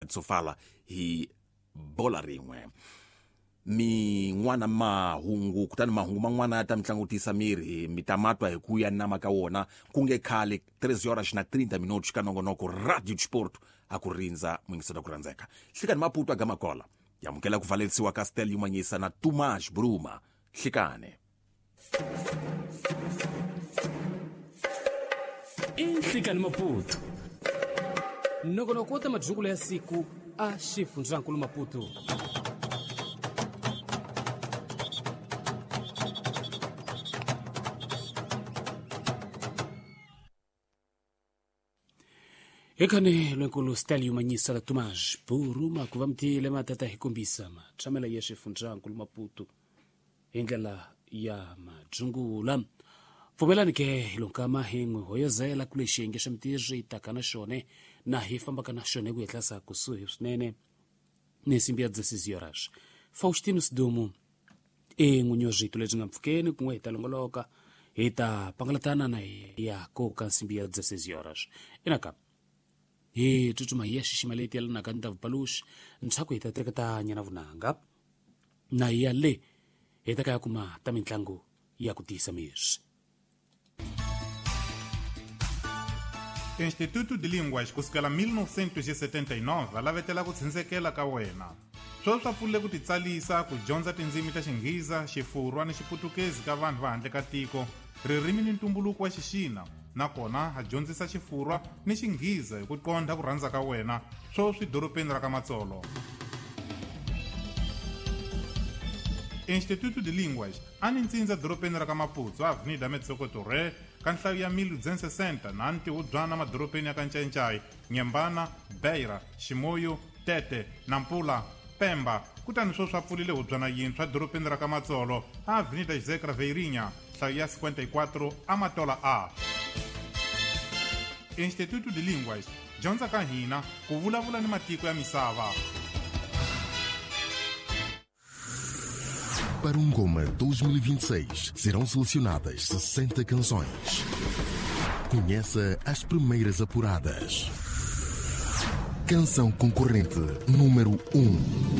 Sofala hi bola rin'we min'wana mahungu kutani mahungu man'wana ya ta mi tlangutisa miri mi ta matwa hi ku ya nama ka wona ku nge khale 3 horas na 30 minutos ka nongonoko Radio Sport a ku rindza muyingisela ku rhandzeka hlikani Maputo a Gamakola yamukela ku valerisiwa ka Stel Yumanyisa na Tumash Bruma hlikane Inhlikani Maputo nongonoko wa ta madyukulo ya siku a xifundzankulu Maputo. Ekhane lwenkulu Stel Yumanyisa la Tumash Buruma ku va mutile matata hi kombisa matshamela ya xifundzankulu Maputo hi ndlela ya madyungula. Pfumelani ke hi lonkama hi n'wi hoyozela ku lexi xiyenge xa mitirho yi taka na xone na hi fambaka na xone ku hetlasa kusuhi swinene ni nsimbi ya 16 horas. Faustino Sidumu i n'winyi wa swito lebyi nga mpfhukeni kun'we hi ta longoloka hi ta pangalatana na ya koka nsimbi ya 16 horas. Inaka hi tsutsuma hi ya xixima leti yelanaka ni ta vupaluxi ntshaku hi ta teketanya na vunanga na hi ya le hi ta ka ya kuma ta mitlangu ya ku tiyisa miri. Instituto de Línguas kusukela 1979 lavetela ku tshundzekela ka wena sweswi swa pfulile ku titsalisa ku dyondza tindzimi ta Xinghiza, Xifurwa ni Xiputukezi ka vanhu va handle ka tiko, ririmi ni ntumbuluko wa Xixina, nakona ha dyondzisa Xifurwa ni Xinghiza hi ku qondha ku rhandza ka wena sweswi dorobeni ra ka Matsolo. Instituto de Línguas a ni ntsindza dorobeni ra ka Maputo, Avenida Metsoko Torre, ka nhlayo ya 1260 na ntihubyana madorobeni ya ka Ncayincai, Nyembana, Beira, Ximoyo, Tete, Nampula, Pemba. Kutani sweswi a pfulile hubyana yintshwa dorobeni ra ka Matsolo, Avenida José Craveirinha, nhlayo ya 54 Amatola A. Instituto de Línguas, dyondza ka hina ku vulavula ni matiko ya misava. Para um Goma 2026 serão selecionadas 60 canções. Conheça as primeiras apuradas. Canção concorrente número 1.